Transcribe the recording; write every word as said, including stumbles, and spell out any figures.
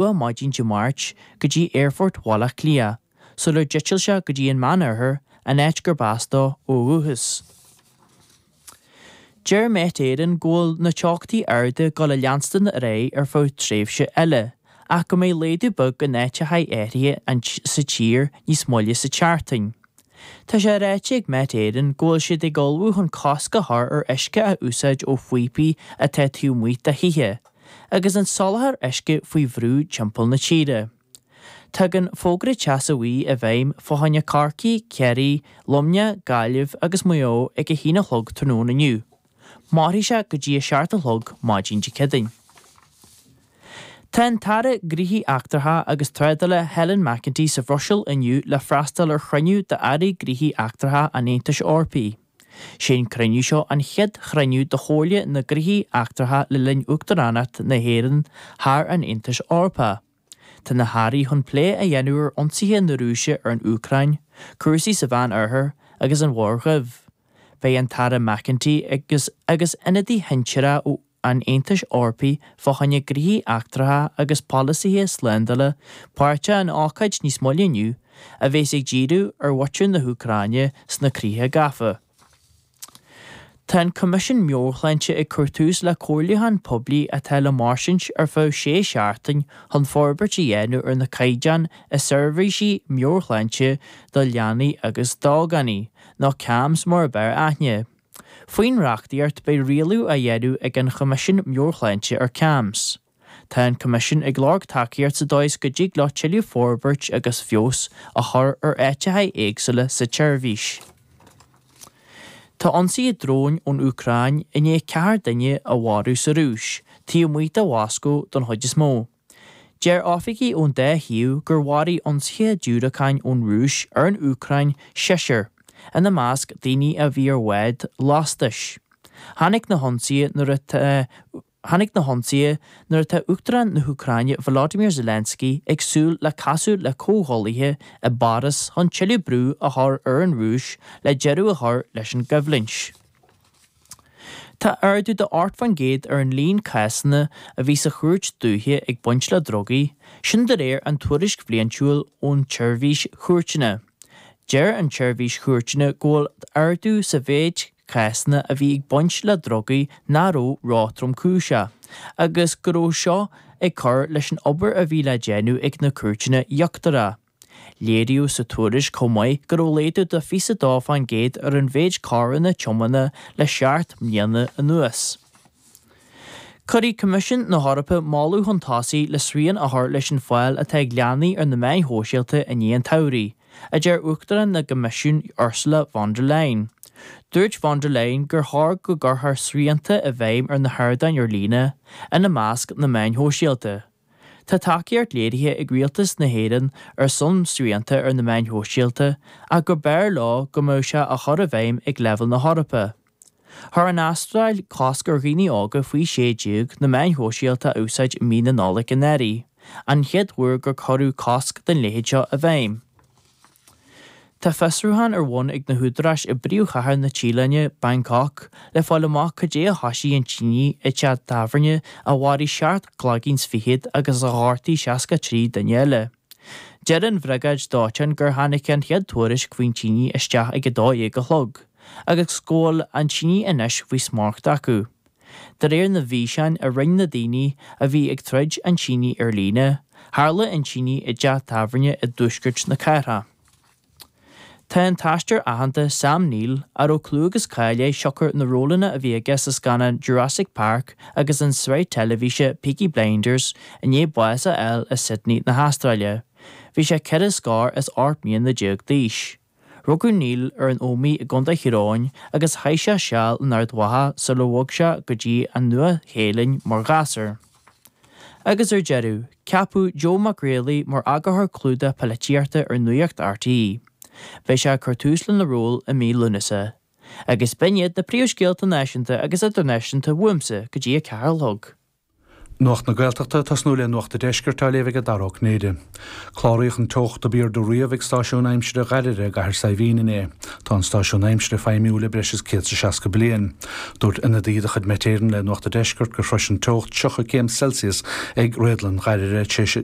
luath maidin Dé Máirt go dtí Aerfort Bhaile Átha Cliath, sular d'eitil sé go dtí an Meánoirthear, an áit gurb as dó ó dhúchas. Deir Met Éireann go bhfuil na teochtaí arda ag dul a leanstan ar aghaidh ar feadh tréimhse eile, ach go mbeidh laghdú beag in áiteacha áirithe sa tír níos moille sa tseachtain. Tá sé ráite ag Met Éireann go bhfuil siad ag ullmhú chun cosc a chur ar uisce a úsáid ó phíopaí atá taobh amuigh de thithe, agus an soláthar uisce faoi bhrú timpeall na tíre. Tagann fógra teasa bhuí i bhfeidhm fá choinne Corcaigh, Ciarraí, Luimneach, Gaillimh agus Maigh Eo ag a haon a chlog tráthnóna inniu. Mairfidh sé go dtí a seacht a chlog maidin Dé Céadaoin. Tá an tAire Gnóthaí Eachtracha agus Trádála Helen McEntee sa Bhruiséil inniu le freastal ar chruinniú d'Airí Gnóthaí Eachtracha an Aontais Eorpaigh. Sé an cruinniú seo an chéad chruinniú de Chomhairle na Gnóthaí Eachtracha le linn Uachtaránacht na hÉireann thar an Aontas Eorpach. Tá na hairí chun plé a dhéanamh ar ionsaithe na Rúise ar an Úcráin, cúrsaí sa Mheánoirthear agus an Mhuir Dhuibh. Beidh an tAire McEntee agus agus ionadaí shinsearach ó an Aontais Eorpaigh fá choinne gnóthaí eachtracha agus polasaithe slándála páirteach in ócáid níos moille inniu a bheas ag díriú ar mhuintir na hÚcráine sna críocha gafa. Tá an Coimisiún Meabhair-Shláinte ag cur tús le comhairliúchán poiblí atá le mairstint ar feadh sé seachtain chun forbairt a dhéanamh ar na caighdeáin i seirbhísí meabhairshláinte do leanaí agus d'ógánaigh, nó CAMHS mar ab fhearr aithne. Faoin reachtaíocht beidh rialú á dhéanamh ag an Choimisiún Meabhair-Shláinte ar CAMHS. Tá an Coimisiún ag lorg tacaíocht sa dóigh is go dtig leo tuilleadh forbairt agus feabhas a chur ar áiteacha éagsúla sa tseirbhís. Tá ionsaithe dróin ón Úcráin i ndiaidh ceathair duine a mharú sa Rúis, taobh amuigh de Mhoscó don chuid is mó. Deir oifigigh ón dá thaobh gur mharaigh ionsaithe diúracáin ón Rúis ar an Úcráin seisear, ina measc daoine a bhí ar bhád lastais. Tháinig na hionsaithe nuair atá Tháinig na hionsaithe nuair atá Uachtarán na hÚcráine Volodymyr Zelensky ag súil le casadh le comhghuaillithe i bPáras chun tuilleadh brú a chur ar an Rúis le deireadh a chur leis an gcoimhlint. Tá ardú de ocht faoin gcéad ar an líon cásanna a bhí sa chúirt dúiche ag baint le drugaí, sin de réir an tuairisc bhliantúil ón tseirbhís chúirteanna. Deir an tseirbhís chúirteanna go bhfuil ardú sa mhéid cásanna a bhí ag baint le drugaí nach raibh ró-thromchúiseach, agus go raibh seo ag cur leis an obair a bhí le déanamh ag na cúirteanna íochtaracha. Léiríodh sa tuairisc chomh maith go raibh laghdú de fiche dó faoin gcéad ar an mhéid coireanna tiomána le seacht mbliana anuas. Cuirfidh Coimisiún na hEorpa moladh chun tosaigh le srian a chur leis an fáil atá ag leanaí ar na meáin shóisialta i ndiaidh an tsamhraidh, a deir Uachtarán na gCoimisiún Ursula von der Leyen. Dúirt von der Leyen gur chóir go gcuirfear srianta i bhfeidhm ar na hardáin ar líne, ina measc na meáin shóisialta. Tá tacaíocht léirithe ag rialtas na hÉireann ar son srianta ar na meáin shóisialta ach gur b'fhearr leo go mbeadh sé á chur i bhfeidhm ag leibhéal na hEorpa. Chuir an Astráil cosc ar dhaoine óga faoi sé déag na meáin shóisialta a úsáid i mí na Nollag anuraidh, an chéad uair gur cuireadh cosc den leithéid seo i bhfeidhm. Tá fiosrúchán ar bun ag na húdaráis i bpríomhchathair na Téalainne, Bangkok, le fáil amach cad é a thoisigh an tine i dteach tábhairne a mharaigh seacht gcloigeann is fichead agus a ghortaigh seasca trí duine eile. Deir an bhriogáid dóiteáin gur tháinig an chéad tuairisc faoin tine isteach ag a dó dhéag a chlog, agus go bhfuil an tine anois faoi smacht acu. De réir na bhfíseán a rinne na daoine a bhí ag troid an tine ar líne, tharla an tine i dteach tábhairne i dtuaisceart na cathrach. Tá an t-aisteoir aitheanta Sam Neill, a raibh clú agus cáil air siocair na rólanna a bhí aige sa scannán Jurassic Park agus an tsraith teilifíse Peaky Blinders, i ndiaidh bás a fháil i Sydney na hAstráile. Bhí sé ceithre scór is ocht mbliana déag d'aois. Rugadh Neill ar an Ómaigh i gContae Thír Eoghain agus chaith sé seal in Ard Mhacha sular bhog sé go dtí an Nua-Shéalainn mar ghasúr. Agus ar deireadh, ceapadh Joe Mac Riollaigh mar eagarthóir clúdach polaitíochta ar Nuacht RTÉ. Beidh sé ag cur tús lena ról i mí Lúnasa. Agus b'in iad na príomhscéalta náisiúnta agus idirnáisiúnta uaimse go dtí a ceathair a chlog. Nuacht na Gaeltachta tosnú le Nuacht an Deiscirt á léamh ag Dara Ó Cinnéide. Cláraíodh an teocht ab airde riamh ag stáisiún aimsire Ghairire i gCathair Saidhbhín inné. Tá an stáisiún aimsire feidhmiúil le breis is céad is seasca bliain. Dúirt ionadaí de chuid Met Éireann le Nuacht an Deiscirt gur shrois an teocht tríocha céim Celsius ag réadlann Ghairire tar éis